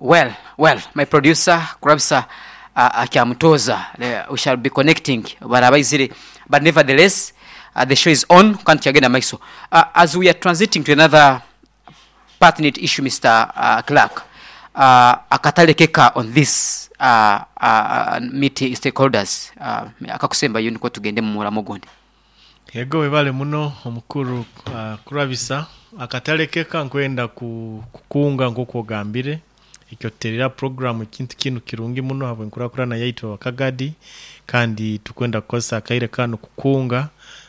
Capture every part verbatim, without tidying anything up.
Well, well, my producer Kurabisa uh, akyamutoza, uh, we shall be connecting barabaizire, but nevertheless uh, the show is on kandi kyagenda maiso. Uh, as we are transiting to another pertinent issue, Mister Uh, Clark, uh, akatale keka on this uh, uh, meet stakeholders, uh, akakusembayo niko tugende mu muramo gundi. Yego, webale muno omukuru uh, Kurabisa. Akatale keka nkwenda ku, kukunga nk'oku ogambire ekyoterera program, ekintu kinu kirungi muno habwenkurakurana yaitu abakagadi, kandi tukwenda kukozesa akaire kanu kukunga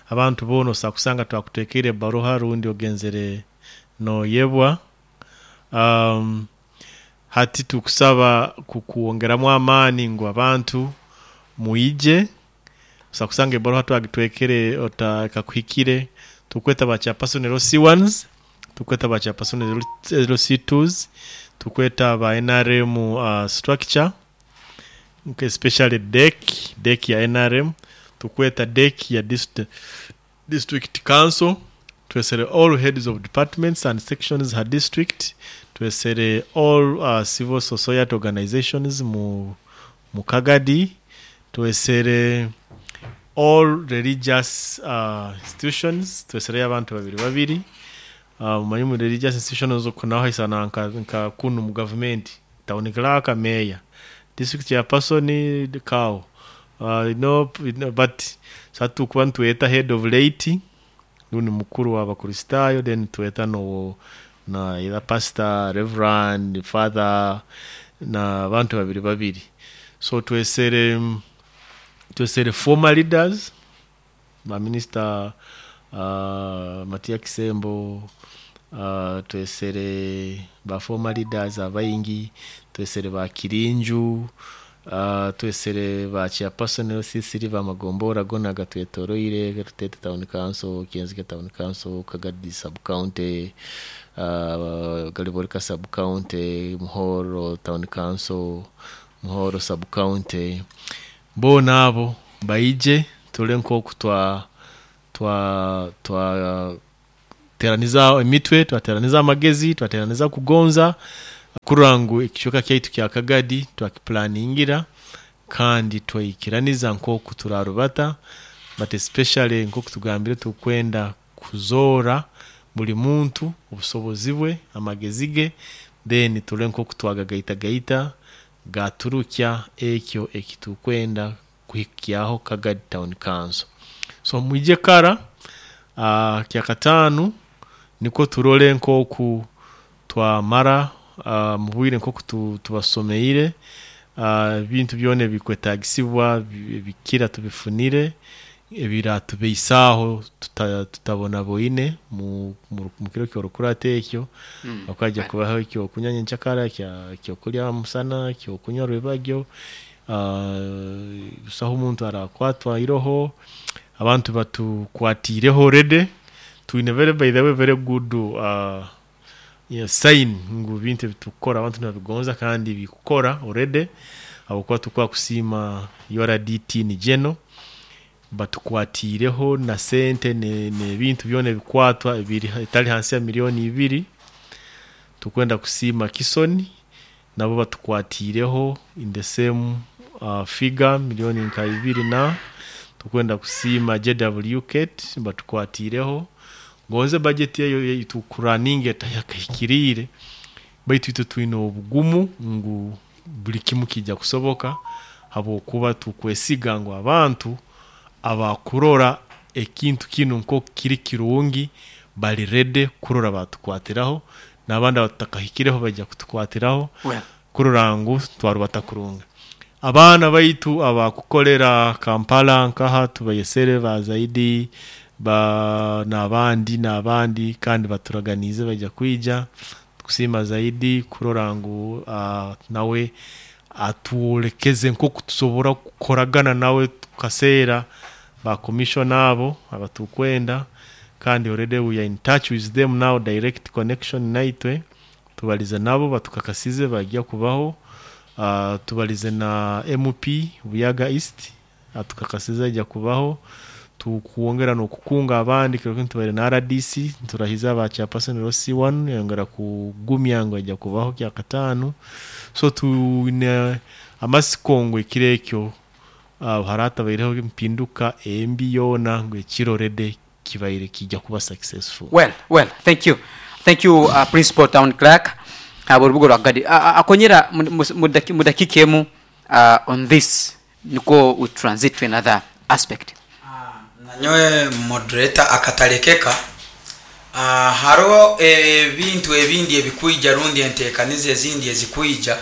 abantu boona. Osobola kusanga twakutekeire baruha rundi ogenzere noyebwa. um, hati tukusaba kukuwongeramu amaani ngu abantu muije. Osobola kusanga ebaruha twagitwekere otakakuhikire. Tukweta ba chairperson L C ones, tukweta ba chairperson L C twos, tukweta ba N R M uh, structure, especially D E C, D E C ya N R M, tukweta D E C ya district, district council, twesere all heads of departments and sections ha district, twesere all uh, civil society organizations mu, mu Kagadi, twesere all religious uh, institutions, twesereyo abantu babiri babiri. uh, mumanyi mu religious institutions okunaho haisana nka, nka kunu mu government, town clerk, mayor, district chairperson, cow uh, no, no, but satukuba nitweta head of laity rundi mukuru w'Abakristaayo, then tweta no na either pastor, reverend father na abantu babiri babiri. So twesere twesere former leaders, ba minister uh, Matia Kisembo, uh, twesere ba former leaders abaingi, twesere ba Kirinju, uh, twesere ba chairperson L C three bamagombora gona gatwetoroire, Rutete Town Council, Kienzige Town Council, Kagadi Sub County, uh, Galiborika Sub County, Muhoro Town Council, Muhoro Sub County, bona abo baije tule nkoku twa twa twa teraniza emitwe, twateraniza amagezi, twateraniza kugonza kurora ngu ekicweka kyaitu kya Kagadi twakiplaningira kandi twaikiraniza nkoku turarubata. But especially nkoku tugambire, tukwenda kuzoora buli muntu obusobozi bwe, amagezi ge, then tule nkoku twagagaitagaita gaturukya ekyo ekitukwenda kuhikyaho Kagadi Town Council. So mwije kara uh, kyakataanu niko turole nkoku twamara uh, mu bwire nkoku tu, tubasomeire uh, ebintu byona ebikwetagisibwa bi- bikira tubifunire ebiratubeisaaho tuta, tutabona boine mu, mu, mu kiro kyorukurata ekyo Mm. okajja kubaho ekyokunywa nyenkyakara, kya ekyokulya musana, ekyokunywa rwebagyo. uh, busaho omuntu arakwatwa iroho, abantu batukwatiireho already. Twine very, by the way, very good uh, yeah, sign ngu bintu ebitukukora abantu nibabigonza kandi bikukora already, habwokuba tukuba kusiima U R D T ni geno batukwatiireho na sente n'ebintu byona ebikwatwa ebiri etali hansi ya miliyoni ibiri. Tukwenda kusiima Kisoni, nabo batukwatiireho in the same uh, figure, miliyoni nka ibiri, na tukwenda kusiima J W Kate batukwatiireho. Gonze budget eyo tukuraninga etayakahikiriire, baitu itwe twine obugumu ngu buli kimu kijja kusoboka, habwokuba tukwesiga ngu abantu abakurora ekintu kinu nko kiri kirungi bali ready kurora batukwatiraho, n'abandi abatakahikireho bajja kutukwatiraho Well. kurora ngu twarubata kurunga. Abaana baitu abakukolera Kampala nkaha tubayesere ba zaidi ba n'abandi n'abandi, kandi baturaganize bajja kwija. Tukusiima zaidi kurora ngu uh, nawe atwolekeze nkoku tusobora kukoragana nawe tukaseera ba commissioner abo abatukwenda, kandi already we are in touch with them now, direct connection naitwe. Tubalize nabo, batukakasize bajya kubaho. uh, tubalize na M P Buyaga East, atukakasize ajya kubaho. Tukwongera n'okukunga abandi kiro kinu tubaire na R D C, nturahiza aba chairperson L C one, yongera kugumya ngu ajja kubaho kyakataano. So tuine amasiko ngu ekiro ekyo uh, haratabaireho empinduka embi yoona, ngu ekiro rede kibaire kijja kuba successful. well well thank you, thank you, uh, Principal Town Clerk uh, Orubuga rwa Kagadi. uh, uh, akonyera mu- mu- mu daki- mu dakika emu uh, on this, niko we transit to another aspect. Nanyowe moderator, akatalekeka Ah, hariho ebintu ebindi ebikwija rundi enteekaniza ezindi ezikwija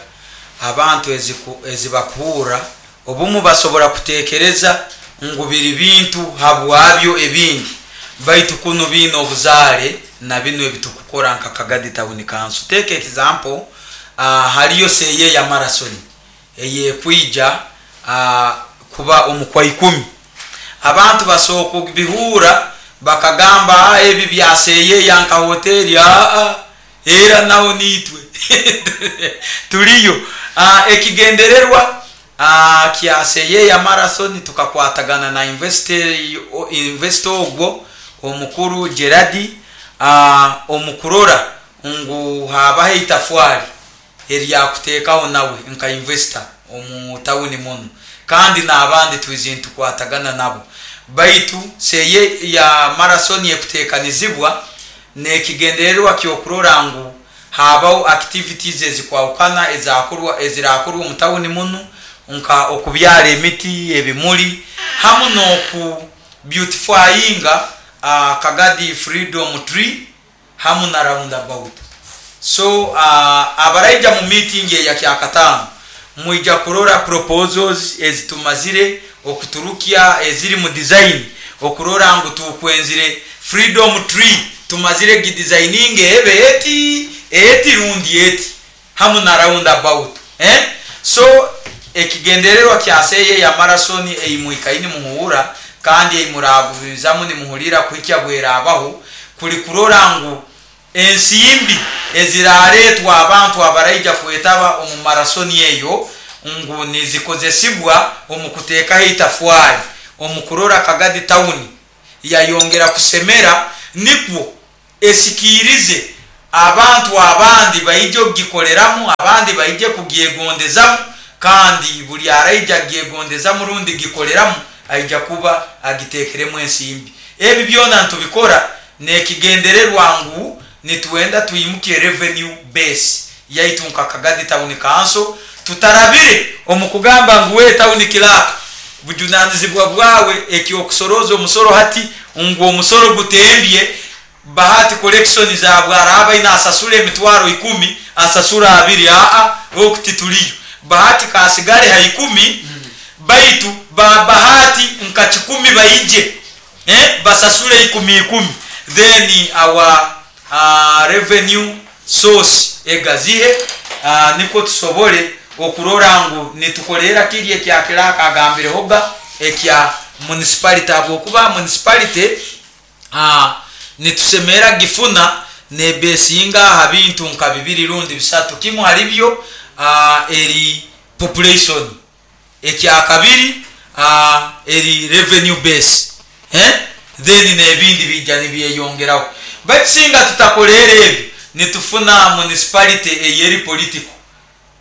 abantu eziku- ezibakuhurra. Obumu basobora kutekereza ngu biri bintu habwabyo ebindi, baitu kunu biine obuzaale na binu ebitukukora nka Kagadi Town Council. Take example, uh, hariyo Seyeya ya Marathon eyekwija uh, kuba omukwa ikumi. Abantu basobola kubihura bakagamba, "Ah, ebi byaseyeya nka hoteri." Aa, era naho nitwe tuliyo. Ah, ekigendererwa ah, kya Seyeya Marathon, tukakwatagana na investor investor ogwo omukuru Geradi ah, omukurora ngu habaho itafwari eryakuteekaho nawe nka investor omu tawuni muno, kandi n'abandi twizi ntukwatagana nabo. Baitu Seye ya Marathon ekuteekanizibwa n'ekigendererwa ky'okurora ngu habaho activities ezikwahukana ezakorwa, ezirakorwa omu tawuni muno, nka okubyara emiti, ebimuli, hamu n'oku beautifyinga uh, Kagadi Freedom Tree hamu na roundabout. So uh, abaraija mu meeting eya kyakataano mwija kurora proposals ezitumazire okuturukya, eziri mu design, okurora ngu tukwenzire Freedom Tree tumazire gidesigning ebe eti eti rundi eti, hamu na roundabout, eh? So ekigendererwa kya Seye ya Marathon eimwikaini muhura kandi eimuragubizamu nimuhulira kuhikya bwerabaho, kuli kurora ngu ensimbi eziraretwa abantu abaraija kwetaba omu marathon eyo ngu nizikozesibwa omu kuteekaho itafwari omu kurora Kagadi Town yayongera kusemera, nikwo esikirize abantu abandi baije okugikoreramu, abandi baije kugyegondezamu. Kandi buli araija agyegondezamu rundi gikoreramu aija kuba agitekeremu ensimbi. Ebi byona ntubikora nekigendererwa ngu nitwenda twimuke revenue base yaitu nka Kagadi Town Council, tutarabire omu kugamba ngu we town clerk, bujunanizibwa bwawe ekyokusoroza omusoro, hati ngu omusoro gutembye, Bahati collection zabwe araba ina asasula emitwaro ikumi, asasula abiri. Aa, okuti tuliyo Bahati kasigale ha ikumi, baitu ba Bahati nka kikumi baije, eh, basasule ikumi ikumi, then our uh, revenue source egazihe, uh, niko tusobole okurora ngu nitukolera kiri ekya clerk agambirehoga ekya municipality, habwokuba municipality uh, nitusemera gifuna nebesinga ha bintu nka bibiri rundi bisatu. Kimu halibyo uh, eri population, ekyakabiri uh, eri revenue base, eh? Then nebindi bijja nibyeyongeraho. Baitu singa tutakolera ebyo, nitufuna municipality eyeri political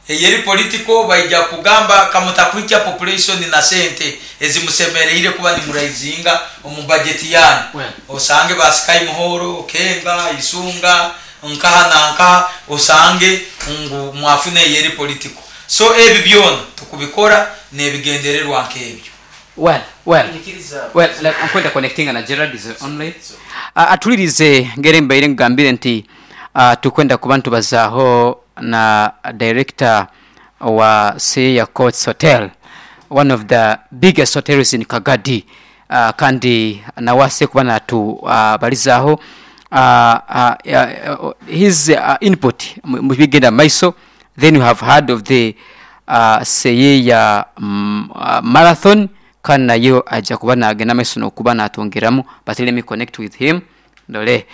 eyeri political baija kugamba kamutakwikya population na sente ezimusemereire kuba nimuraizinga omu budget yanyu. Well. Osange basikai Muhoro, Kenga, Isunga, nkaha na nkaha, osange ngu mwafune eyeri political. So ebi byona tukubikora nebigendererwa nk'ebyo. well well well like, nkwenda connectinga na Gerard is online. uh, atulirize ngere mbaire ngambire nti uh, tukwenda kuba ntubazaaho na director wa Seya Courts Hotel, one of the biggest hotels in Kagadi, uh, kandi nawase kuba natubalizaaho uh, uh, uh, his uh, input mu mu bigenda maiso. Then you have heard of the uh, Seyeya mm, uh, Marathon, kandi nayo ajja kuba nagenda maiso nokuba natwongeramu. But let me connect with him, ndole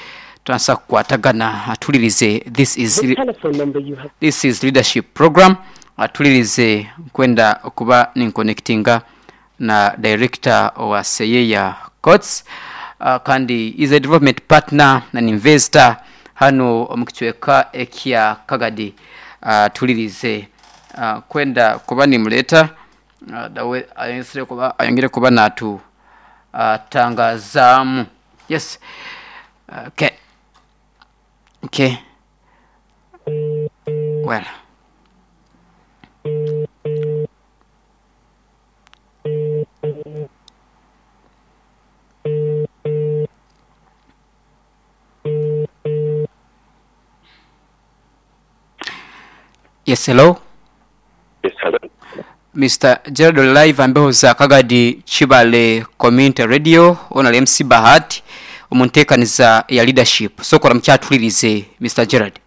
turansa kukwatagana atulirize. This is The telephone number you have This is leadership program. Atulirize, kwenda okuba ninconnectinga na director wa Seyeya. Courts, uh, kandi is a development partner and investor hano omu kicweka ekya Kagadi. uh, tulirize uh, kwenda kuba nimuleta uh, dawe ayongere kuba ayongere kuba natu uh, tangazamu. Yes, okay, okay, well, yes, hello. Yes, hello. Mister Gerald live ambeho za Kagadi Chibale Community Radio ona M C Bahati omuntekaniza ya leadership. Sokora mkyatulirize Mister Gerald.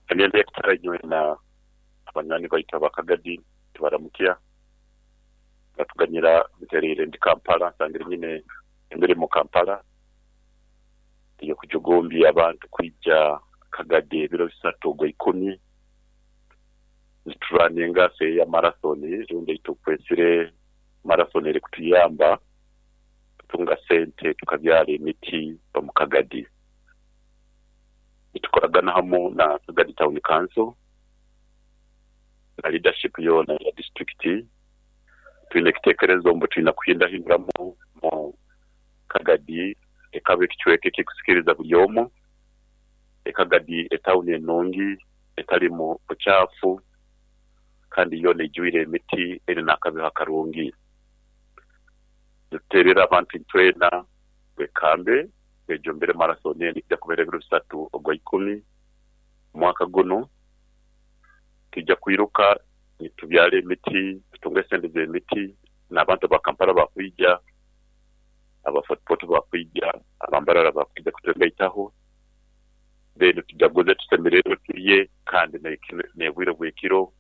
Agende kutarajwe na abanywani baita bakagadi tubaramukia batuganyira biterire ndi Kampala nsangire nyine imbere mu Kampala iyo kujugombi abantu kwijja Kagadi ebiro bisatu gwa ikumi turaninga se ya marathon runde itukwesire marathon eri kutuyamba tutunga sente tukabyara emiti mu Kagadi. Tukoragana hamo na Kagadi Town Council na leadership yona ya district twine kitekerezo mbo twina kuhinda hinduramu mu Kagadi ekabe kichweke kikusikiriza buli omu. Ekagadi etawuni enungi etalimu buchafu kandi yona ejwire emiti eri nakabeho akarungi. Duterera abantu twena wekambe ejombere marathon eni kubera ebiro bisatu ogwa ikumi mwaka guno tujja kwiruka nitubyale emiti tutunge sente z'emiti n'abantu ba Kampala bakwija abafotopoto bakwija abambarara bakwija kutugaitaho then tujaguze tusemererwe tuye kandi nebwire bwekiro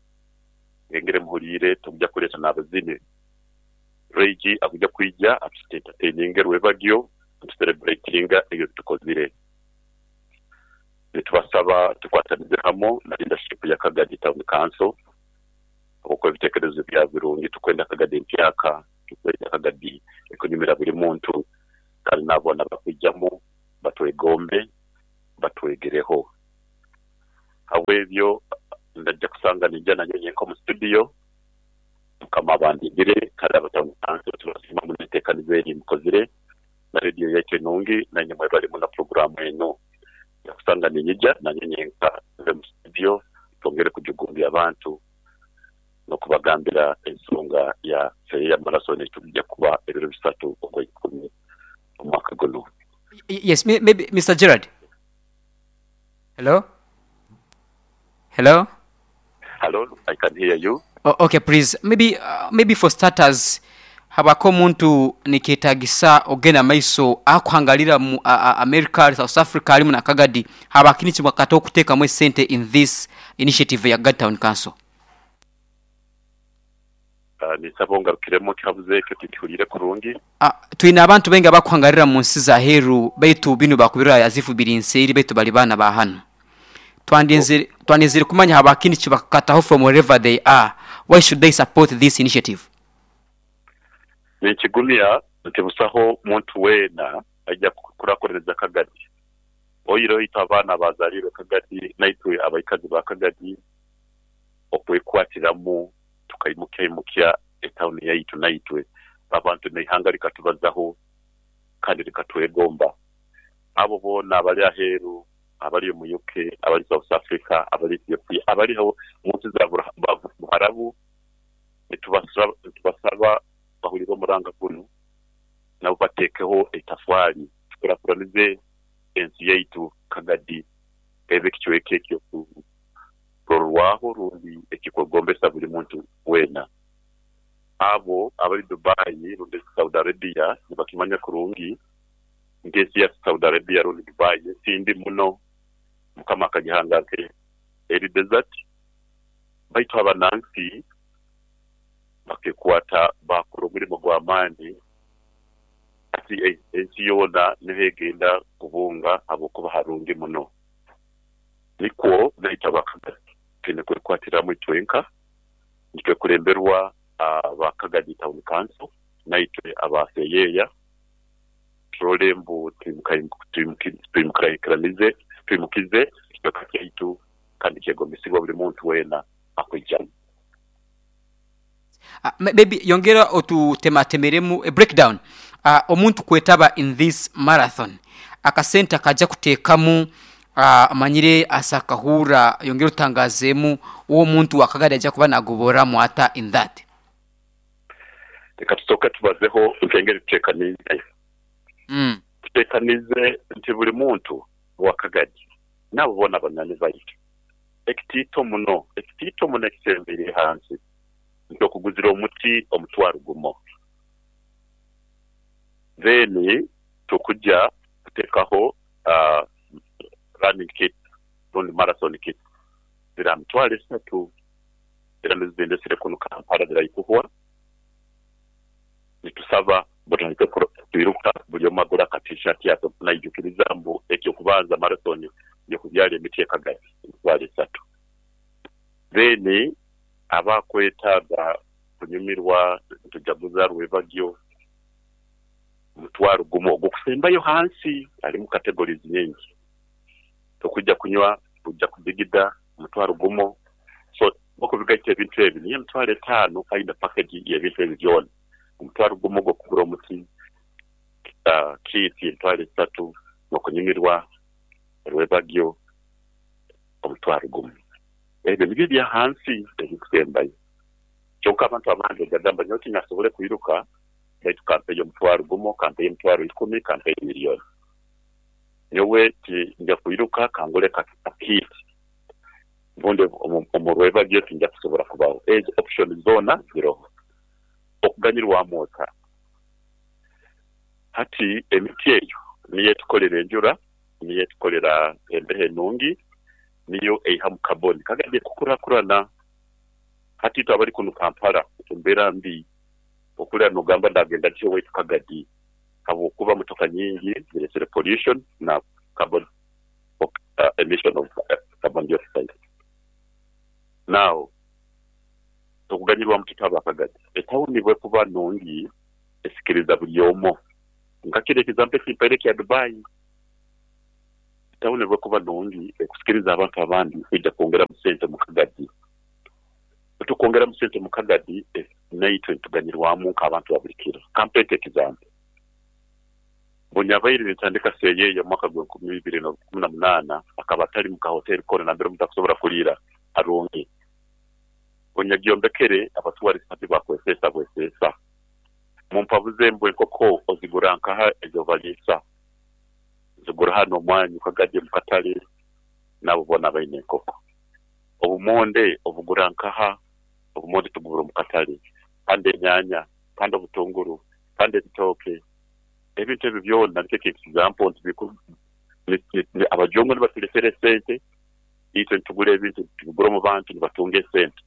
ngengere muhulire tujja kuleta n'abazini Reji akuja kwija atuentertaininga rwebagyo tucelebratinga ebyo tukozire. Nitubasaba tukwatanize hamo na leadership ya Kagadi Town Council uko ebitekerezo bya birungi tukwenda Kagadi mpyaka tukwenda Kagadi ekunyumira buli muntu kandi nabona bakwijamo batwegombe batwegereho. Habwebyo ndajja kusanga nijja nanyo nko mu studio mukama bandigire kandi abatown council tubasima munetekanize eri mukozire na radio yaitu nungi na nyuma bali mu na programu eno yakusanga ninyija nanyo nyenka mu studio twongere kujugumbya abantu no kubagambira ensonga ya ya marathon tujja kuba ebiro bisatu ogwa ikumi omwaka guno. Yes, maybe Mister Gerard. Hello? Hello? Hello, I can hear you. Oh, okay, please. Maybe uh, maybe for starters habako muntu niketagisa ogena maiso akuhangalira mu uh, America, South Africa alimu na Kagadi habakini chimwakato kuteka mwe sente in this initiative ya Kagadi Town Council. Uh, nisabonga kiremo kyabuze cyo titulire kurungi. Ah, twina abantu benga bakuhangalira mu nsi za heru baitu binu bakubira yazifu birinseri baitu bali bana ba hano. Twandinzire twandinzire kumanya habakini chibakataho from wherever they are. Why should they support this initiative? Nikigumya ntibusaho muntu wena ajya kurakorereza Kagadi. Oyiro itabana bazalire Kagadi naitwe abaikazi ba Kagadi okwekwatiramu tukaimukia imukia etawuni yaitu naitwe abantu neihanga likatubazaho kandi likatwegomba. Abo bona abali aheru abali mu U K abali South Africa abali Ethiopia abaliho mu nsi za Buharabu nitubasaba nitubasaba bahulire omuranga guno nabo batekeho etafwali tukurakuranize ensi yaitu Kagadi ebe kichweke ekyo kurwaho rundi ekikogombesa buli muntu wena. Abo abali Dubai rundi Saudi Arabia nibakimanya kurungi ngesi ya Saudi Arabia rundi Dubai sindi muno mukama akagihanga ke eri desert baitu abanansi bakekwata bakora omurimo gw'amaani ati ensi yona nihegenda kubunga abokuba harungi muno. Nikwo naita Bakagadi twine kwekwatiramu itwenka nitwe kulemberwa Bakagadi Town Council Naitwe abaseyeya turole mbu twimukaikiranize twimukize ekicweka kyaitu kandi kyegombesibwa buli muntu weena akwijamu. Uh, maybe yongera otutematemeremu a breakdown uh, omuntu kwetaba in this marathon akasente akaja kuteekamu uh, amanyire asakahura yongera otangazemu uwo muntu wakagari ajja kuba nagoboramu ata in that. Reka tusooke tubazeho nkengeri tuteekanize. Mm. Tuteekanize nti buli muntu wakagadi nabo bona banani baitu ekitiito muno ekitiito muno ekisembere hansi nti okuguzira omuti omutwaro gumo, then tukujja kuteekaho uh, running kit rundi marathon kit zira mitwaro esatu era nizindesire kuno Kampala ziraikuhwa. Nitusaba butandike kwiruka buli omu agura ka t-shirt yake naijukiriza mbu ekyokubanza marathon yokubyala emiti ekagadi emitwaro esatu. Then abakwetaaga kunyumirwa tujaguza rwebagyo mutwaro gumu ogukusembayo hansi alimu categories nyingi tokujja kunywa kujja kudigida mutwaro gumu. So okubigaita ebintu ebi niyo emitwaro etaano aina package y'ebintu ebi byona omutwaro gumu gw'okugura omuti uh, kit emitwaro esatu n'okunyumirwa rwebagyo omutwaro gumu. Ebyo nibyo bya hansi ebikusembayo. Kyonka abantu abandi bagamba nyowe tinyasobole kwiruka baitu kampeyo omutwaro gumu, kampeyo emitwaro ikumi, kampeyo miliyoni. Nyowe ti nja kwiruka kangule kakit mbundi omu rwebagyo tinja kusobora kubaho. Ezo option zona ziroho okuganyirwamu ota. Hati emiti eyo niyo etukolera enjura, niyo etukolera embeho enungi, niyo eihamu carbon kagadi kukurakurana. Hati itwe abali kuno Kampala embeera mbi okulira nogamba ndagenda ntyo waitu Kagadi habwokuba motoka nyingi ziresere pollution na carbon uh, emission of uh, carbon dioxide. Now okuganyirwamu tutaba Kagadi etawuni bwekuba nungi esikiriza buli omu nkakira example ekimpaire kya Dubai. Etawuni bwekuba nungi ekusikiriza abantu abandi kwija kwongeramu sente mu Kagadi. Tukwongeramu sente mu Kagadi naitwe tuganyirwamu nk'abantu ba buli kiro. Kampete example bunyabaire nitandika seyeya mwaka gwa nkumi ibiri na kumi na munaana akaba atali mu kahoteli kona nambere omuntu akusobora kuliira arungi. Bunyagyombekere abatuwarisi bakwesesa bwesesa mumpabuze mbwe enkoko ozigura nkaha ezo baliisa zigura hano omwanyu Kagadi mu katale nabo bona baine enkoko. Obumonde obugura nkaha obumonde tugura mu katale, kandi enyanya, kandi obutunguru, kandi ebitooke, ebintu ebyo byona nikyo example nti abajongo nibatuletera esente itwe nitugura ebintu tubigura omu bantu nibatunga esente.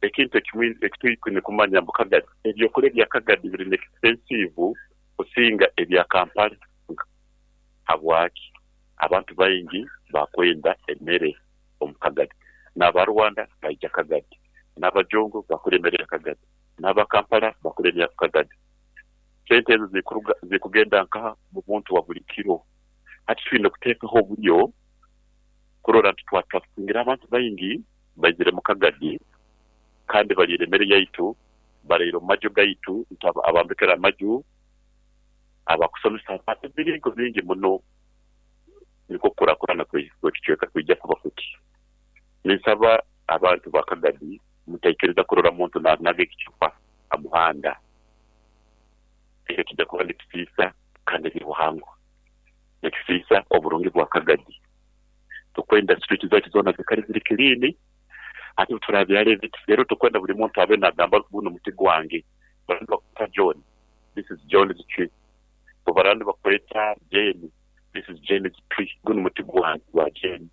Ekintu ekimwe ekitwine kumanya mbu Kagadi ebyokulya bya Kagadi biri expensive kusinga ebya Kampala. Habwaki? Abantu baingi bakwenda emmere omu Kagadi, n'Abarwanda baija Kagadi, n'Abajongo bakura emmere ya Kagadi, n'Abakampala bakura emmere ya Kagadi. Sente ezo zikugenda nkaha mu muntu wa buli kiro. Hati twine kuteekaho oburyo kurora nti twatwasingira abantu baingi baizire mu Kagadi kandi baliire emmere yaitu, baliire omu maju gaitu, nti abambekera amaju, abakusomesa abantu ebiringo bingi muno nikwo kukurakurana kw'ekicweka kwija kuba kuti. Ninsaba abantu ba Kagadi mutaikiriza kurora muntu naga ekicupa amuhanda. Ekyo kijja kuba nikisiisa kandi ebyobuhangwa nikisiisa oburungi bwa Kagadi. Tukwenda street zaitu zoona zikali ziri clean ate turabyala ebiti rero tukwenda buli muntu abe nagamba guno muti gwange. Barandi bakweta John, this is John's tree. Barandi bakweta Jane, this is Jane's tree, guno muti gwange gwa Jane.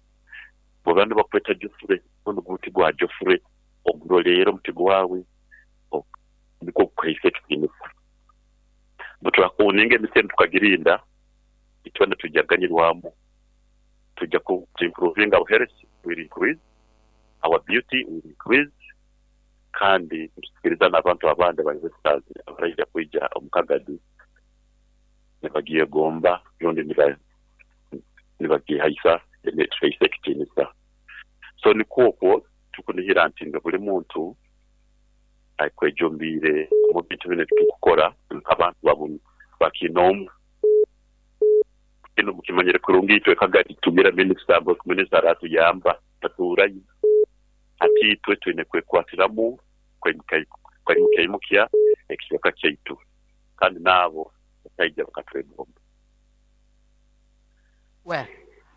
Barandi bakweta Geoffrey, guno muti gwa Geoffrey. Oguroleera omuti gwawe nikwo kuhaisa ekitiinisa. Buturakuninga emiti enu tukagirinda itwena tujaganyirwamu, tujja ku improvinga our health will increase, our beauty will increase, Kandi nitusikiriza n'abantu abandi aba investors abaraija kwija omu Kagadi nibagyegomba rundi niba nibagihaisa tuhaisa ekitiinisa. So nikwo okwo tukunihira nti nga buli muntu akwejumbiire omu bintu binu ebitukukora nk'abantu babu bakinoomu. Kinu mukimanyire kurungi, itwe Kagadi tugira minisita, minisita aratuyamba tatuurayo. Hati itwe twine kwekwatiramu kwimukya ekicweka kyaitu, kandi naabo bakaija bakatwegomba. Well,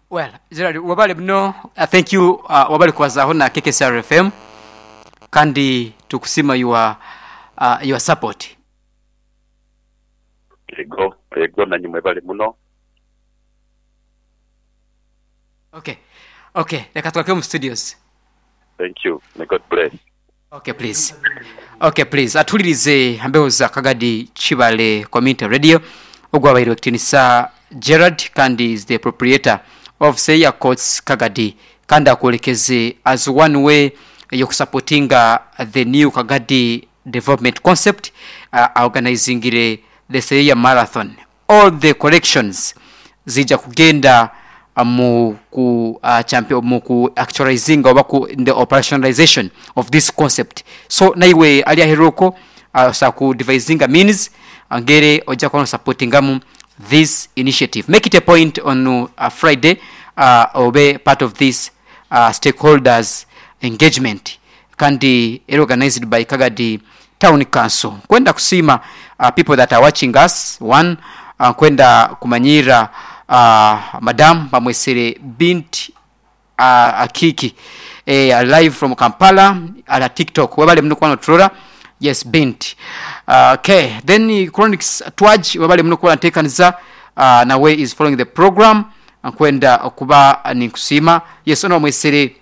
well, Gerald, wabale muno, uh, thank you, uh, wabale kubazaho na K K S R F M, kandi tukusima your uh, your support. Ego, ego, nanywe mwebale muno. Okay. Okay, reka twake mu studios. Thank you. May God bless. Okay, please. Okay, please. Atulirize ambeho za Kagadi Chibale Community Radio. Ogwabaire ekitiinisa Gerard, kandi is the proprietor of Seya Courts Kagadi, kandi akwolekeze as one way yokusupportinga the new Kagadi development concept, uh, organizingire the Seya Marathon. All the collections zija kugenda uh, mu ku uh, champion mu ku actualizing oba ku in the operationalization of this concept. So naiwe ali aheruko uh, sa ku devising means angere ojja kuba supportingamu this initiative. Make it a point on uh, Friday, uh, obe part of this uh, stakeholders engagement, kandi era organized by Kagadi Town Council. Kwenda kusima uh, people that are watching us one, uh, kwenda kumanyira uh, madam bamwesere Bint uh, Akiki, eh, live from Kampala ala TikTok. Webale muno kuba noturora. Yes, Bint. uh, okay then Chronics Twaj, webale muno kuba ntekaniza, uh, nawe is following the program, kwenda okuba ninkusima. Yes, ono bamwesere,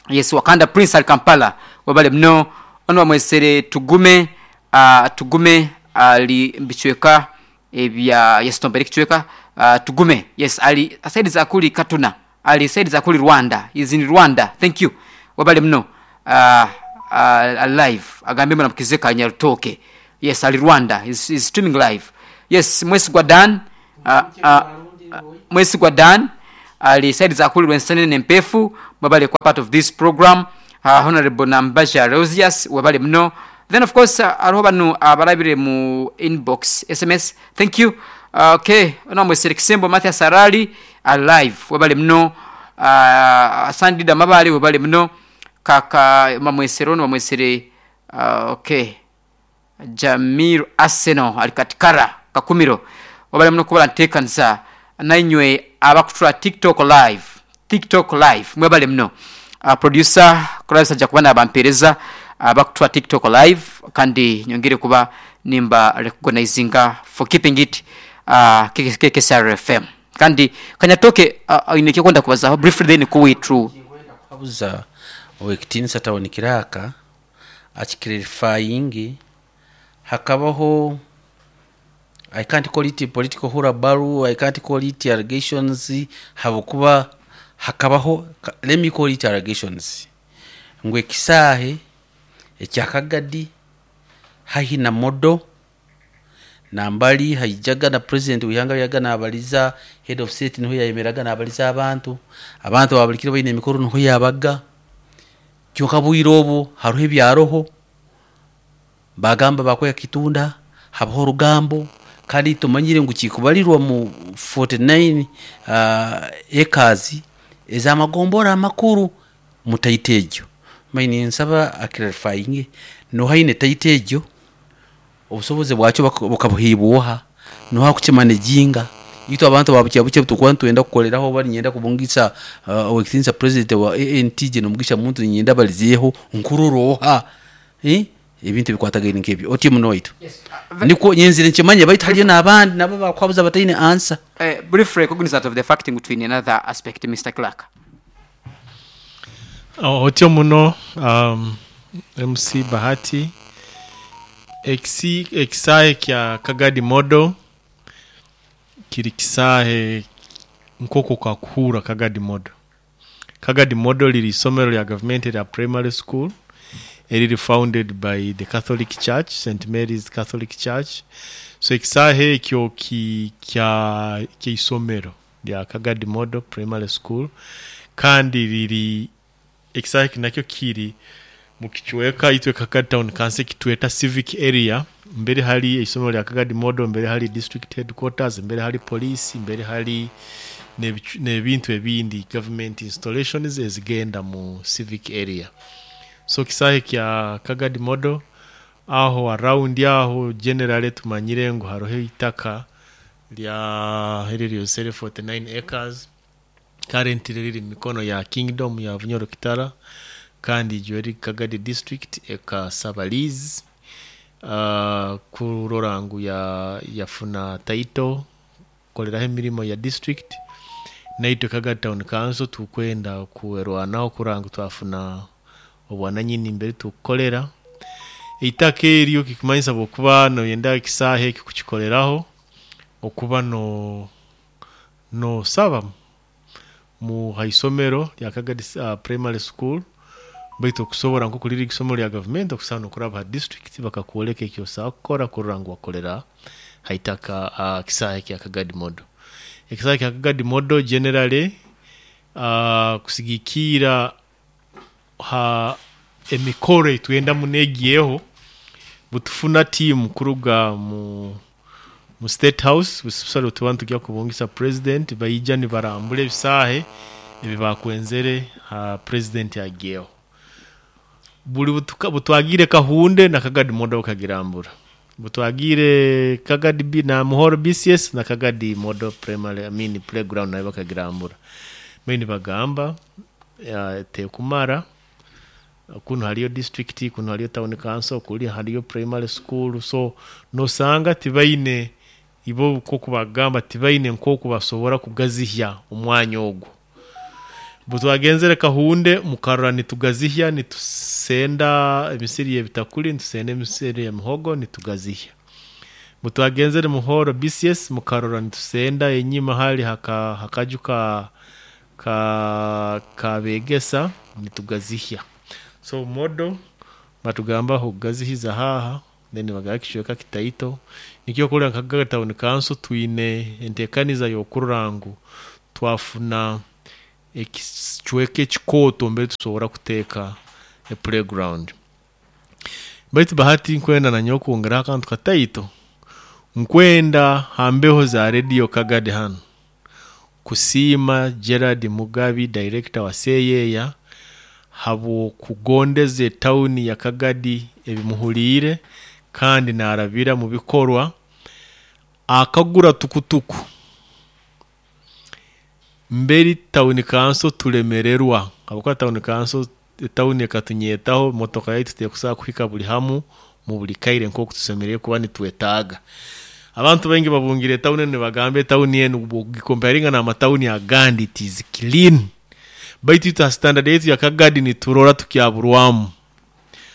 yes, Wakanda Prince al Kampala, webale muno. Ono bamwesere Tugume, uh, Tugume ali mbichweka ebya, yes, tombere kichweka, uh, Tugume, yes, ali saidi za kuli Katuna, ali saidi za kuli Rwanda, is in Rwanda. Thank you, wabale muno. uh, uh, live agambe mwana mukizeka Nyarutoke. Yes, ali Rwanda, is, is streaming live. Yes, Mwesigwa Dan, uh, uh, Mwesigwa Dan ali saidi za kuli Rwensenene Mpefu, wabale kwa part of this program. uh, Honorable Nambaja Rosius, wabale muno. Then of course uh, ariho bano abalabire mu inbox S M S, thank you. uh, okay ono mwesere Kisembo Mathias Arali alive, wabale muno. uh, Sandida Mabale, wabale muno. Kaka mamwesere ono bamwesere, uh, okay, Jamir Arsenal ali Katikara Kakumiro, wabale muno kubala ntekanisa. Nainywe abakutura TikTok live, TikTok live, mwebale muno. uh, producer kurabisa ajja kuba nabampereza abakutura TikTok live, kandi nyongere kuba nimba recognizinga for keeping it uh, K K S R F M. Kandi kanyatoke uh, ine kyokwenda kubazaho briefly, then kuwi true. Kuhabuza owekitinisa town clerk akiclarifying. Hakabaho, I can't call it political hullabaloo, I can't call it allegations, habwokuba hakabaho, let me call it allegations, ngu ekisaahe ekyakagadi haihi na modo nambali haijaga na president wihanga yaga nabaliza head of state, niho yayemeraga nabaliza abantu, abantu babulikire baine emikoro, niho yabaga. Kyonka bwire obu hariho ebyaroho bagamba bakweka kitunda, habaho orugambo, kandi tumanyire ngu kikubalirwa mu forty-nine uh, acres ez'amagombora amakuru mu title egyo. Maini nsaba aclarifying nohaine title egyo, obusobozi bwakyo bukabuhibwoha, noha kukimanaginga. Itwe abantu babukya bukye tukuba nitwenda kukoleraho, bari nyenda kubungisa uh, owekitinisa president wa A N T gye nomugisha muntu nyenda balizeeho nkuroroha, eh? Ebintu ebikwatagaine nk'ebyo otyo muno waitu. Yes. Nikwo nyenzire nkimanye, baitu hariyo n'abandi nabo bakwabuza bataine answer. Uh, brief recognizance of the fact between another aspect, Mister Clark. Oh, otyo muno, um, M C Bahati. Ekisi ekisaahe kya Kagadi Model kiri kisaahe nk'okwo kakuhura Kagadi Model. Kagadi Model liri isomero lya gavumenti lya primary school. Eriri founded by the Catholic Church, Saint Mary's Catholic Church. So ekisaahe ekyo ki kya ky'isomero lya Kagadi Model Primary School, kandi riri ekisaahe eki nakyo kiri mu kicweka itwe Kagadi Town Council kitweta civic area. Mbere hari isomero lya Kagadi Model, mbere hari district headquarters, mbere hari police, mbere hari n'ebicu- n'ebintu ebindi, government installations ezigenda mu civic area. So kisahe kya Kagadi Model aho, around aho generally tumanyire ngu haroho itaka lya eriri forty-nine acres, currently riri mu mikono ya Kingdom ya Bunyoro Kitara, kandi iryo riri Kagadi District ekasaba lease uh, kurora ngu ya yafuna title koleraho emirimo ya district. Naitwe Kagadi Town Council tukwenda kuerwanaho kurora ngu twafuna obwananyini mbere tukukolera eitaka eryo. Kikimanyisa bwokuba noyenda ekisaahe eki kukikoleraho, okuba no nosaba mu haisomero lya Kagadi uh, Primary School, baitu okusobora nko kuliri isomero lya gavumenti, okusana okuraba ha district bakakwoleka ekyo osaba kukora kurora ngu wakolera haitaka uh, kisaahe kya Kagadi Model. Ekisaahe kya Kagadi Model generally, uh, kusigikira ha emikoro etwenda munegiyeho, butufuna team kuruga mu mu State House busale tuba tujya kubungisa president, bayija nibarambula ebisaahe ebi bakwenzere ha president yagiyeho. Buli butuka butwagire Kahunde na Kagadi Model bakagirambura, butwagire Kagadi B na Muhoro B C S na Kagadi Model Primary, I mean playground, nayo bakagirambura. Meni bagamba ya, tekumara kuno haliyo district, kuno haliyo town council, kuli haliyo primary school. So nosanga tibaine ibo ko kubagamba tibaine nkoku basobora kugazihya omwanya ogwo. Butwagenzere Kahunde mukarora nitugazihya, nitusenda emisiri y'ebitakuli, nitusenda emisiri y'emihogo, nitugazihya. Butwagenzere Muhoro B C S mukarora nitusenda enyima hali haka hakaju ka ka kabegesa, nitugazihya. So modo batugamba kugazihiza haha, then bagaba kicweka kitaito. Nikyo kulira Kagadi Town Council twine entekaniza y'okurora ngu twafuna ekicweka ekikooto mbere tusobora kuteeka e playground. Baitu Bahati, nkwenda nanyowe kwongeraho akantu kataito. Nkwenda hambeho za Radio Kagadi hano kusiima Gerard Mugabi, director wa Seyeya, habwokugondeza etawuni ya Kagadi ebimuhuliire, kandi narabira mu bikorwa akagura tukutuku. Mberi town council tulemererwa habwokuba town council, etawuni ekatunyetaho motoka yaitu tekusobola kuhika buli hamu mu buli kaire nkoku tusemerire kuba nitwetaaga. Abantu baingi babungire etawuni enu, nibagamba etawuni enu bwogikomparinga n'amatawuni agandi, it is clean, baitu itwe ha standard yaitu ya Kagadi niturora tukyaburwamu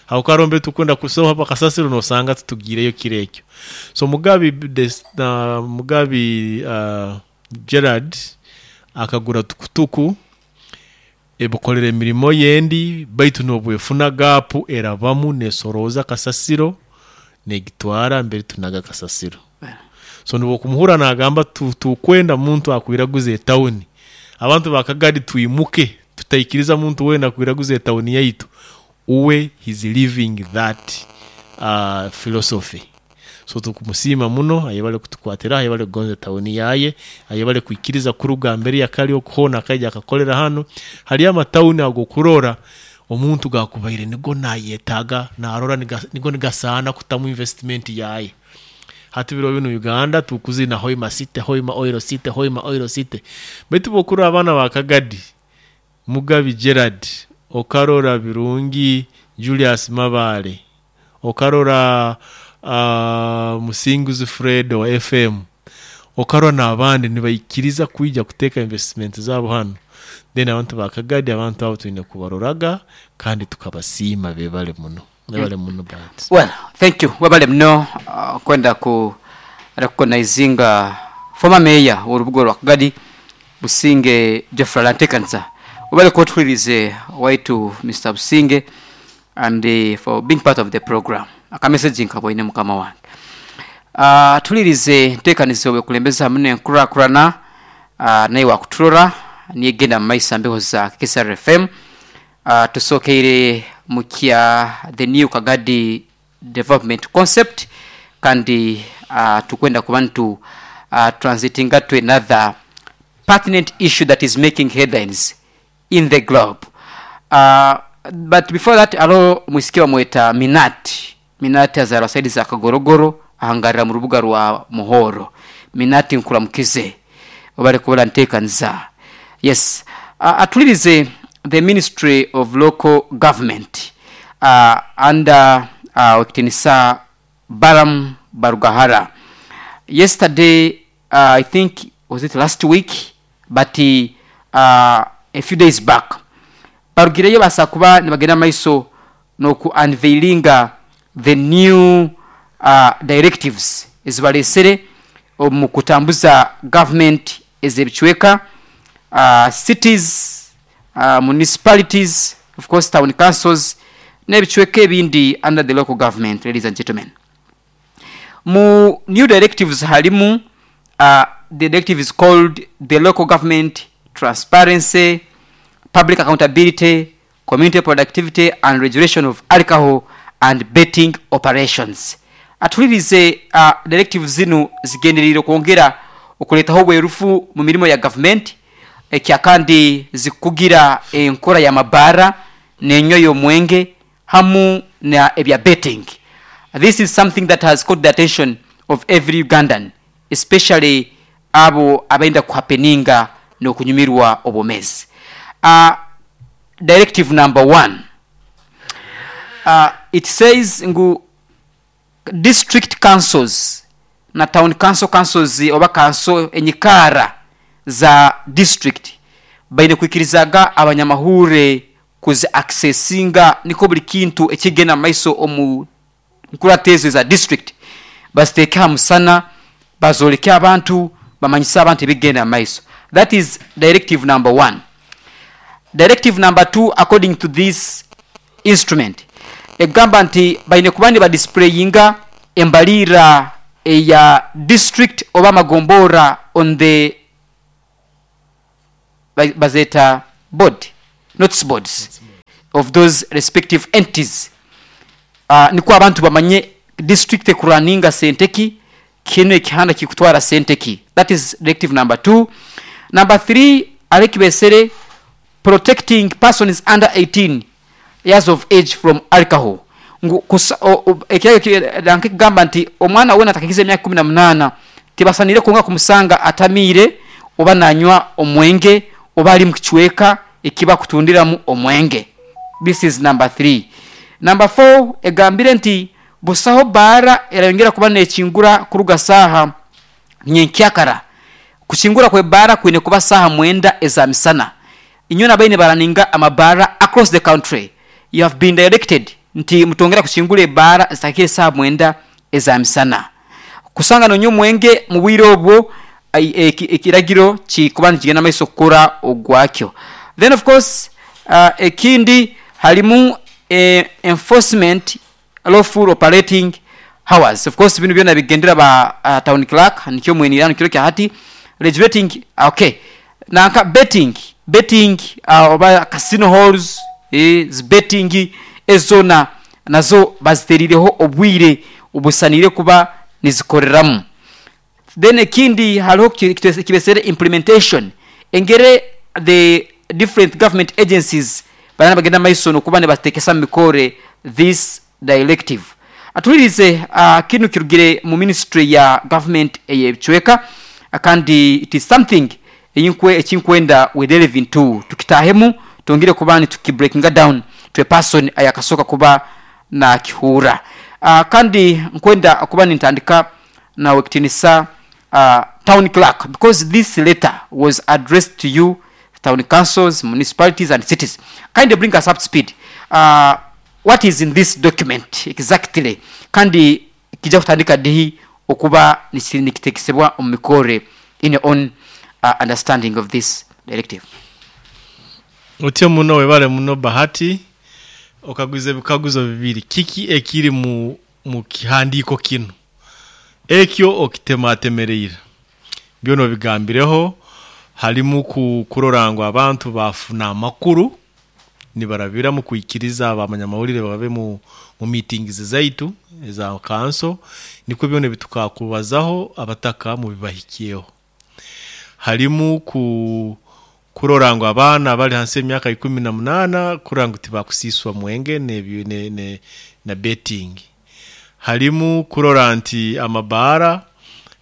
habwokuba tukwenda kusoha bakasasiro nosanga tutugireyo kiro ekyo. So Mugabi des, uh, Mugabi uh, Gerard akagura tukutuku ebukolera emirimo yendi, baitu nobwefuna gapu erabamu nesoroza kasasiro negitwara mbere tunaga kasasiro. So nibwokumuhura nagamba tukwenda muntu akwiraguza etawuni, abantu bakagadi twimuke, tutaikiriza muntu wena akwiraguza etawuni yaitu. Uwe he's living that uh, philosophy. So tukumusiima muno, ayebale kutukwatira, ayebale kugonza tawuni yaye, ayebale kwikiriza kuruga mbere yakali okuhona akaija akakolera hano. Hali amatawuni ago kurora omuntu gakubaire nigo nayetaga, narora nigo nigasaana kutamu investment yaye. Hati biro bino Uganda tukuzina Hoima City, Hoima Oil City, Hoima Oil City, baitu bokura abaana ba Kagadi, Mugabi Gerard, okarora Birungi Julius Mabale, okarora uh, Musinguzi Fred wa F M, okarora n'abandi nibaikiriza kwija kuteeka investment zabo hano, then abantu ba Kagadi, abantu abo twine kubaroraga kandi tukabasiima. Bebale muno, bebale muno Bahati. Well, thank you, webale muno uh, kwenda ku recognizinga former mayor w'orubuga rwa Kagadi, Businge Geoffrey Lantekansa. Webale kutuhulirize waitu Mister Businge. And uh, for being part of the program. Akamessage nkaboine mukama wange. Uh, tulirize nteekanizo bwekulembeza hamu n'enkurakurana uh, naye wakuturora niyegenda mu maiso mbeho za K S R F M. uh, tusookeire mu kya the new Kagadi development concept, kandi uh, tukwenda kuba ntu uh, transitinga to another pertinent issue that is making headlines in the globe. uh, but before that, alo mwisikia mweta Minati. Minati azarwa side za Kagorogoro, ahangarira mu rubuga rwa Muhoro. Minati, nkuramukize, obale kubala nteekaniza. Yes, uh, atulirize the Ministry of Local Government uh, under uh, Wekitinisa Baram Barugahara. Yesterday, uh, I think, was it last week, but uh, a few days back, barugireyo basa kuba nibagenda maiso noku unveilinga the new uh, directives ezibalesere omu kutambuza government ez'ebicweka, uh, cities, uh, municipalities, of course town councils n'ebicweka ebindi under the local government. Ladies and gentlemen, mu new directives halimu uh, the directive is called the Local Government Transparency, Public Accountability, Community Productivity and Regulation of Alcohol and Betting Operations. Atulirize uh, directive zinu zigenderere okwongera okuletaho obwerufu mu mirimu ya gavumenti, ekya kandi zikugira enkora ya mabara n'enyo y'omwenge hamu na ebya betting. This is something that has caught the attention of every Ugandan, especially abo abenda kuhapeninga n'okunyumirwa obwomezi. uh, directive number one, uh, it says ngu district councils na town council councils oba council enyikara za district baine kwikirizaga abanyamahure kuzi accessinga, niko buli kintu ekigenda mu maiso omu nkuratezo za district baziteeke ha musana, bazoleke abantu, bamanyise abantu ebigenda mu maiso. That is directive number one. Directive number two, according to this instrument, egamba nti baine kuba nibadisplayinga embalira eya district oba amagombora on the ba- bazeta board, notice boards of those respective entities, uh, niko abantu bamanye district ekuraninga sente ki, kino ekihanda kikutwara sente ki. That is directive number two. Number three, alekibesere protecting persons under eighteen years of age from alcohol. Ngu kusa- o- o- ekiragiro kigamba nti omwana wena atakigiza emyaka kumi na munaana tibasanire kunga kumusanga atamiire oba nanywa omwenge oba ali mukicweka ekiba kutundiramu omwenge. This is number three. Number four egambire nti busaho baara erayongera kuba nekingura kuruga saaha nyenkyakara. Kuchingura kwe baara kwine kuba saaha mwenda eza misana. Inywe nabaine baraninga amabara across the country, you have been directed nti mutongera kuchingura ebaara zitakire saaha mwenda eza misana. Kusanga nonywa omwenge mu bwire obwo, ai- eki- ekiragiro kikuba nikigenda maiso kukora ogwakyo. Then of course, uh, ekindi halimu eh, enforcement lawful operating hours. Of course bino byona bigendera ba uh, town clerk, nikyo mwenirano kiro kya hati regulating. Okay, nanka betting betting uh, oba casino halls, eh, betting ezona nazo bazterireho obwire obusanire kuba nizikoreramu. Then ekindi haliho ki- kibesere kibesere implementation, engere the different government agencies bana bagenda maiso nokuba nibatekesa mu mikore this directive. Atulirize uh, kinu kirugire mu ministry ya government eyebicweka, kandi it is something eyinkwe ekinkwenda we delve into, tukitahemu tongere kuba nitukibreakinga down to a person ayakasoka kuba nakihura. uh, kandi nkwenda kuba nintandika nawe kitinisa uh, town clerk, because this letter was addressed to you, town councils, municipalities and cities. Kindly bring us up to speed, uh, what is in this document exactly, kandi kijja kutandika dihi okuba niki- nikitekesebwa omu mikore, in your own uh, understanding of this directive? Otyo muno, webale muno Bahati. Okaguza ebikaguzo bibiri. Kiki ekiri mu mu kihandiiko kinu ekyo okitematemereire byona obigambireho? Harimu ku- kurora ngu abantu bafuna amakuru nibarabira mu kwikiriza abamanyamawulire babe mu, mu meetings zaitu eza kanso, nikwo byona ebitukakubazaho abataka mubibahikyeho. Harimu ku kurora ngu abaana bali hansi y'emyaka ikumi na munaana kurora ngu tibakusiswa mwenge ne, ne, ne, na betting. Harimu kurora nti amabaara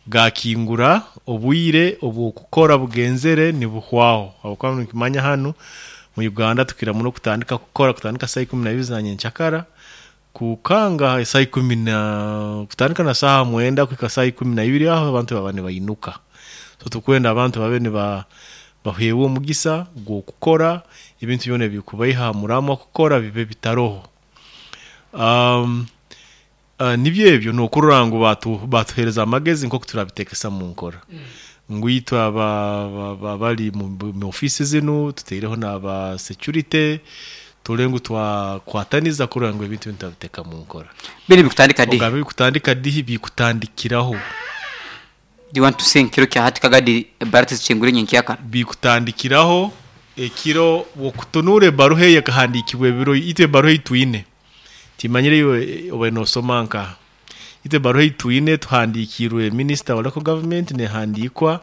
gakingura obwire obwokukora bugenzere nibuhwaho, habwokuba nikimanya hanu mu Uganda tukira muno kutandika kukora kutandika saa ikumi na ibiri za nyenkyakara kukanga saa ikumi na kutandika na saaha mwenda kuhika saa ikumi na ibiri, aho abantu baba nibainuka. So tukwenda abantu babe niba baheebwa omugisa gw'okukora ebintu byona ebikubaiha muramwa kukora bibe bitaroho. um, uh, nibyo ebyo nokurora ngu batu batuhereza amagezi nk'oku turabitekesa mu nkora, ngu itwe aba aba- bari mu, mu ofisi zinu tuteireho n'aba security tule ngu twakwataniza kurora ngu ebintu binu turabiteka mu nkora. Bini bikutandika di? Ogambe bikutandika dihi? Bikutandikiraho. Do you want to say nkiro kya hati kagadi barati zichingure nyenkyakara? Bikutandikiraho ekiro wokutunura ebaruha eyo ekahandikibwa ebiro. Itwe ebaruha eitwine timanyire iwe oba nosoma nka itwe ebaruha eitwine tuhandikirwe minister wa local government nehandikwa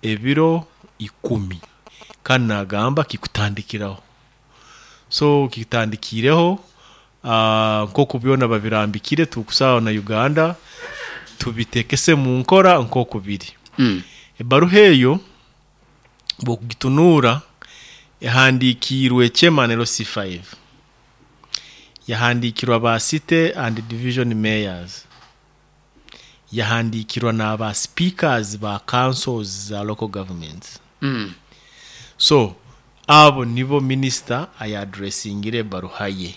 ebiro ikumi, kandi nagamba kikutandikiraho. So kikutandikireho uh, nkoku byona babirambikire tukusaba na Uganda tubitekese mu nkora nkoku biri. Mm. Ebaruha eyo bwokugitunura ehandikirwe chairman L C five, yahandikirwa ba city and division mayors, yahandikirwa n'aba speakers ba councils za local governments. Mm. So abo nibo minister ayadressingire ebaruha ye,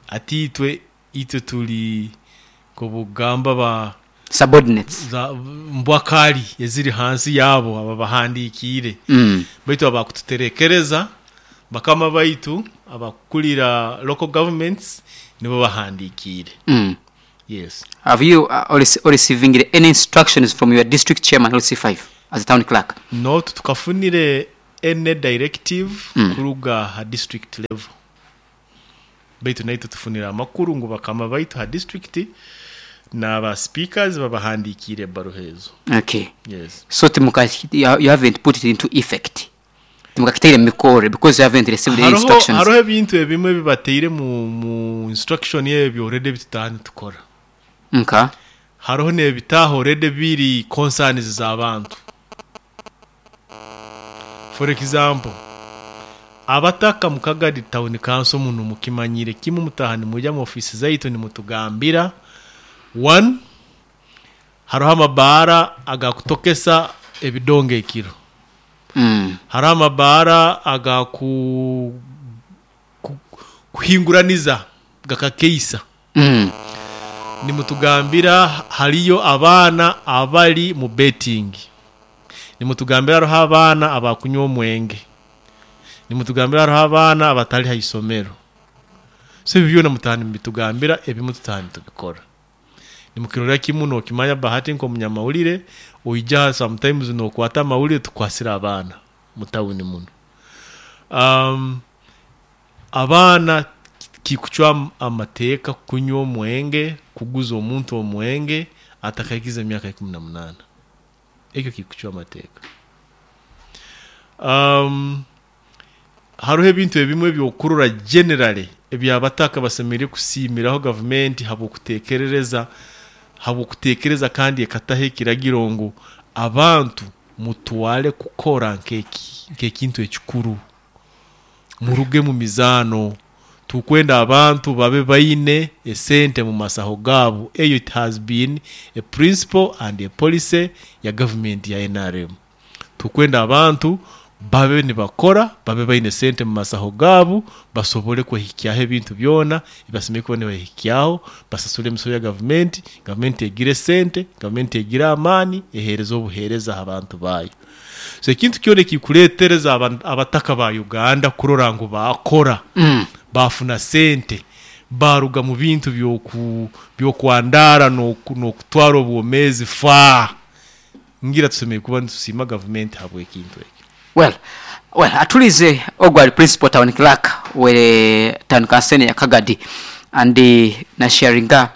ati itwe itwe tuli kubugamba ba subordinates za mbwakali eziri hansi yabo aba bahandikiire. Mm. Baitu abakututerekereza bakama baitu abakulira local governments nibo bahandikiire. Mm. Yes. Have you uh, or, or receiving any instructions from your district chairman L C five as a town clerk? No, tukafunire any directive Mm. kuruga ha district level, baitu naitwe tufunire amakuru ngu bakama baitu ha district n'aba speakers babahandikiire ebbaruha ezo. Okay. Yes. So timuka you you haven't put it into effect, timukakiteire mu mikore because you haven't received any hariho instructions. Hariho ebintu ebimwe bibateire mu, mu instruction ebyo already bitutahani tukora. Nka? Hariho n'ebitaha already biri concerns z'abantu. For example, abataka mu Kagadi Town Council muno mukimanyire kimwe, mutaha nimujya mu ofisi zaitu nimutugambira one, hariho amabaara agakutokesa ebidongo ekiro. Mm. Hariho amabaara agaku ku- kuhinguraniza gakakeisa. Mm. Nimutugambira hariyo abaana abali mu betting, nimutugambira hariho abaana abakunywa omwenge, nimutugambira hariho abaana abatali ha isomero. So ebyo byona mutahani mubitugambira, ebimu tutahani tubikora. Nimukirorera kimu nokimanya Bahati nk'omunyamawulire oija sometimes nokwata amawulire tukwasira abaana mu tawuni muno. um, abaana kikucwa amateeka kunywa omwenge, kuguza omuntu omwenge atakaikiza emyaka ikumi na munaana, ekyo kikucwa amateeka. um, hariho ebintu ebimwe ebyokurora generally ebyabataka basemereire kusiimiraho gavumenti habwokutekerereza habwokutekereza kandi ekataho ekiragiro ngu abantu mutwale kukora nk'eki nk'ekintu ekikuru, muruge mu mizaano, tukwenda abantu babe baine esente mu masaho gaabo. Eyo it has been a principle and a policy ya gavumenti ya N R M. Tukwenda abantu babe nibakora, babe baine sente mu masaho gaabo, basobole kwehikyaho ebintu byona ebibasemeriire kuba nibahikyaho, basasule emisoro ya gavumenti, gavumenti egire sente, gavumenti egire amaani, ehereze obuheereza aha bantu baayo. So ekintu kyona ekikureetereza aba- abataka ba Uganda kurora ngu bakora Mm. Bafuna sente, baruga mu bintu byoku byokwandara n'okutwara obwomezi fa. Ngira tusemeye kuba nitusiima gavumenti habw'ekintu ekyo. Well, well, atulize ogwali principal town clerk we town council ya Kagadi and uh, na sharinga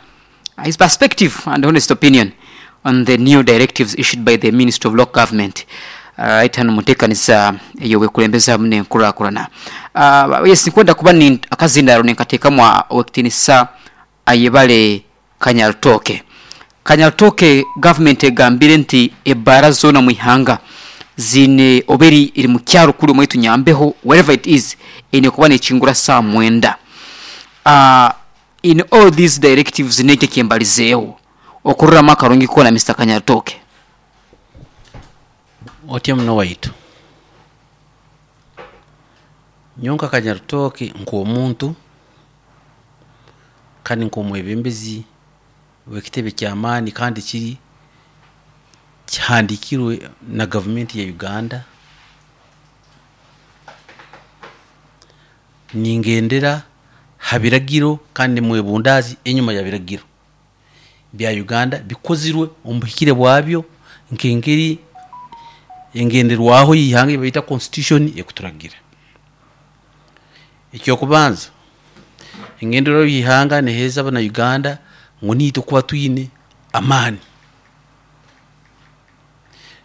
his perspective and honest opinion on the new directives issued by the Ministry of Local Government. Uh, itano mutekanisa eyo wekulembeza mune nkurakurana. Uh, yes, nkwenda kuba ni akazindaro nenkatekamwa wekitinisa ayebale Kanyarutoke. Kanyarutoke government egambire nti ebara zona muihanga zine oberi iri mu kyaro kuri mwetu nyambeho, wherever it is, ine kuba nechingura saa mwenda. Uh, in all these directives neke kyembalizeewo okurura makarungi kona Mister Kanyarutoke. Otya muno waitu nyonka Kanyarutoke nk'omuntu kandi nk'omwebembezi w'ekitebe ky'amaani kandi kiri kihandikirwe na gavumenti ya Uganda, ningendera ha biragiro kandi mwebundazi enyuma ya biragiro bya Uganda bikozirwe omu buhikire bwabyo nk'engeri engenderwaho y'ihanga bayita constitution ekuturagira. Ekyokubanza, engenderwaho y'ihanga neheeza abana Uganda ngu niitwe kuba twine amaani,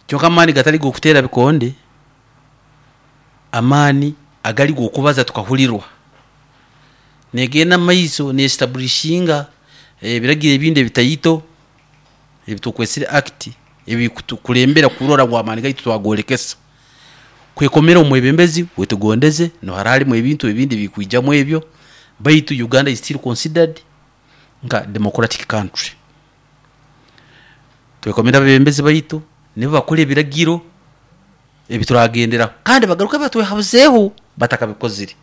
kyonka amaani gatari g'okuteera bikonde, amaani agali g'okubaza tukahulirwa. Negenda maiso nestablishinga ebiragiro ebindi ebitaito ebitukwesire act ebikutukulembera kurora ngu amaani gaitu twagolekesa kwekomera omwebembezi wetugondeze no haralimu ebintu ebindi bikwijamu ebyo. Baitu Uganda is still considered nka democratic country. Twekomera abebembezi baitu nibo bakora ebiragiro ebituragenderaho kandi bagaruka batwehabuzeeho batakabikozire.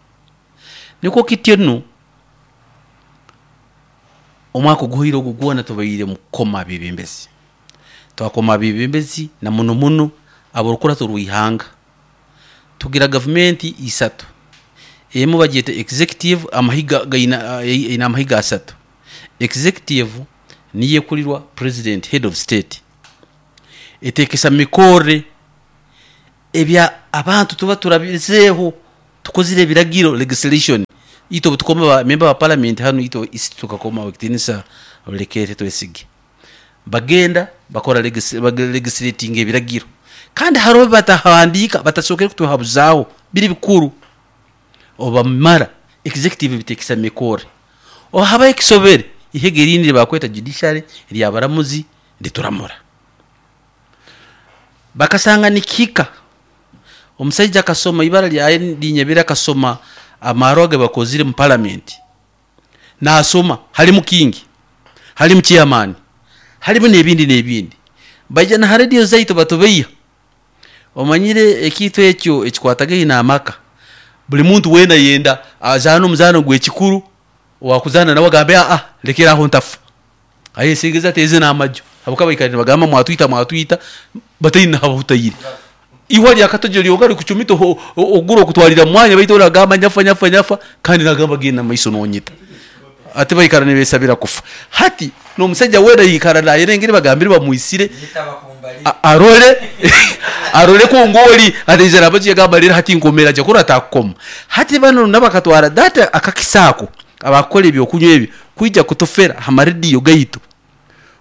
Niko kityo nu omwaka oguhire ogu gwona tubaire mukoma abebembezi, twakoma abebembezi na muno muno aborukurato rwihanga. Tugira gavumenti isatu, emu bagyeta executive, amahiga gaina ina amahiga asatu. Executive niyo ekurirwa president, head of state, etekesa mikore ebya abantu tuba turabizeeho tukozire ebiragiro legislation. Ito tukoma ba member wa parliament hano ito isi tukakoma wekitinisa olekere twesige bagenda bakora legislating ebiragiro kandi hariho batahandika batasokere kutuhabuzaho biri bikuru oba mara executive bitekesa mikore ohaba ekisobere ihegerindi bakweta judiciary lyabaramuzi ndituramura bakasanga nikika. Omusajja akasoma ibara lya linyebera akasoma amaroge bakozire mu parliament, nasoma halimu kingi, halimu chairman, halimu nebindi nebindi, baija na radio zaito batubeya omanyire ekitu ekyo ekikwatagaine amaka. Buli muntu wena yenda azana omuzano gwekikuru wakuzana nawe agambe a lekera aho ntafa aye singiza teze namajo abuka baikare bagamba mwatwita mwatwita bataina habutayire iwa lya katojo lyogari kuchumito oguro kutwalira mwanya baito ragamba nyafa nyafa nyafa kandi nagamba genda maiso nonyita ate baikara nebesabira kufa. Hati no musajja wera yikara naye rengere bagambire bamuisire arole arole ko ngoli atejera abaje gamba rero hati nkomera je kura takoma. Hati bano nabakatwara data akakisako abakora ebyo kunywa ebyo kwijja kutofera hamarediyo gaito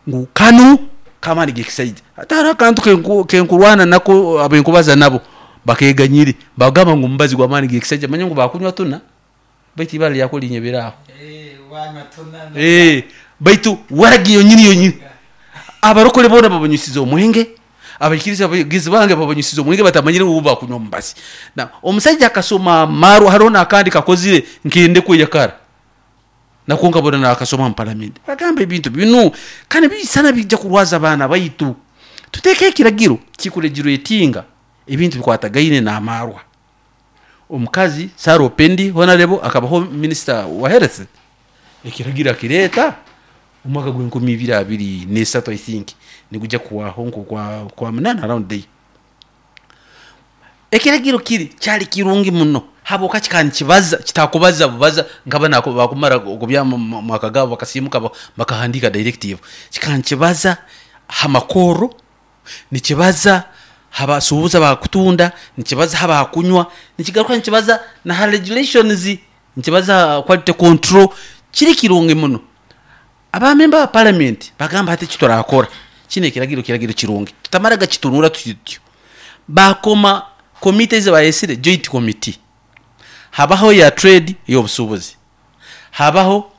ngu kanu kamani gekisaidi atara kantu kenkurwana nako abenkubaza nabo bakeganyire bagamba ngu mbazi gwa mani gekisaidi manye ngu bakunywa tuna baitu ibara lyako linyeberaho eh wanywa tuna eh baitu waragiyo nyini yonyini abarokole bona babanyusiza omwenge abakiriza abagizi bange babanyusiza omwenge batamanyire ngu bakunywa mbazi. Na omusajja akasoma maru harona akandi kakozire nkende kweyakara nakonka bona nakasoma mu parliament bagamba ebintu binu kandi bisana bijja kurwaza abana baitu. Tuteke ekiragiro kikuregiro etinga ebintu bikwatagaine n'amarwa. Omukazi Sarah Opendi honorable akabaho minister wa health ekiragiro akireta omwaka gw'enkumi ibiri abiri n'esatu I think nigujja kuwaho nko kwa kwa munana around day. Ekiragiro kiri kyali kirungi muno Habwoka kikankibaza kitakubaza bubaza nkaba nako bakumara okubya mu- mu- mwaka gabo bakasimuka ba- bakahandika directive. Kikankibaza hamakoro, nikibaza habasuubuza bakutunda, nikibaza habakunywa, nikigaruka nikibaza na ha regulations, nikibaza quality control. Kiri kirungi muno. Abamemba ba parliament bagamba hati kiturakora kino ekiragiro, kiragiro kirungi, tutamaraga kitunura tutyo. Bakoma komite ezi bayesire joint committee. Habaho ya trade, y'obusuubuzi, habaho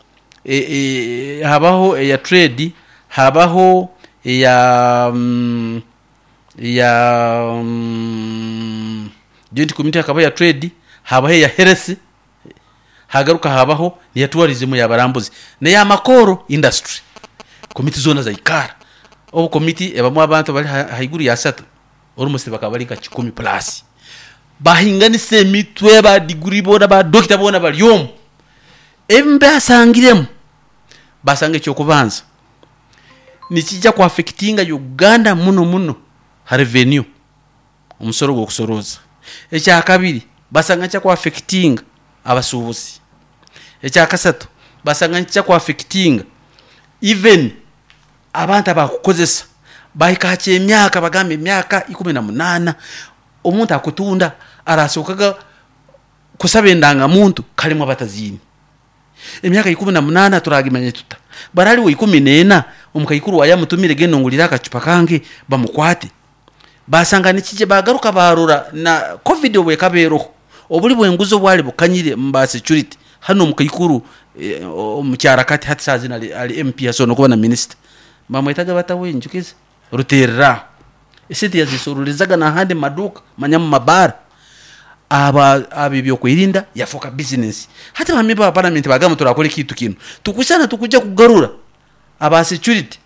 e, e, habaho eya trade, habaho eya mm, ya mm, joint committee, hakabaho ya trade, habaho eya health, hagaruka habaho niya tourism, yabarambuzi, neya makoro industry. Komiti zona zaikara. Obu komiti ebamu abantu bali ha- haiguru ya satu, almost bakaba bali nka kikumi plus, bahinganisa emitwe, ba degree bona, ba doctor bona bali omu. Ebimu basangiremu, basanga ekyokubanza nikijja kuaffectinga Uganda muno muno ha revenue, omusoro gwokusoroza. Ekyakabiri, basanga nkya kuaffectinga abasuubuzi. Ekyakasatu, basanga nkijja kuaffectinga even abantu abakukozesa. Bahika hakya emyaka, bagamba emyaka ikumi na munaana omuntu akutunda arasokaga kusaba endangamuntu. Kalimu abataziini emyaka ikumi na munaana, turagimanya tuta? Baraliwo ikumi neena, omukaikuru wayamutumire, genda ongulire akacupa kange, bamukwate. Basanga nikije. Bagaruka barora na COVID obwekabeeroho, obuli bwenguzi obwali bukanyire muba security hano. Omukaikuru eh, omukyara kati hati saa zino ali, ali M P, asobola nokuba na minister, bamwetaga batawenjukiza ruterera esente yazisorulizaga nahandi mumaduka, manya mu mabara aba aba ebyokwerinda yafoka business. Hati bamemba ba parliament bagamba turakora ekintu kino, tukusana tukuja kugarura aba security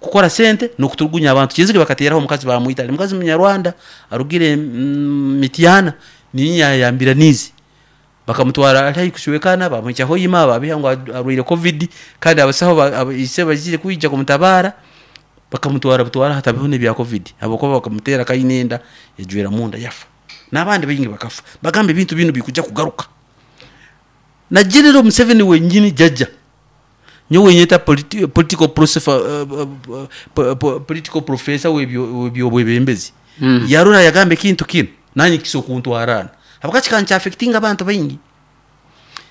kukora sente nokuturugunya abantu. Kinzige bakateraho omukazi, bamwita ali mukazi munyarwanda arugire mm, Mityana, ninya yambira nizi, bakamutwara ali haihi kushwekana, bamwicaho yima, babiha ngo arwaire COVID, kandi abasaho ba- aba- ise bagire kwija kumutabara, bakamutwara butwara hatabiho n'ebya COVID, habwokuba bakamutera kainenda ejwera munda, yafa, n'abandi baingi bakafa. Bagamba ebintu bino bikuja kugaruka. Na General Museveni wenyini jaja nyowe nyeta politi political professor, uh, uh, uh, po- political professor webyo webyo bwebembezi, Mm. yarora yagamba ekintu kino nanye kiso kuntwarana, habwaki kancha affecting abantu baingi.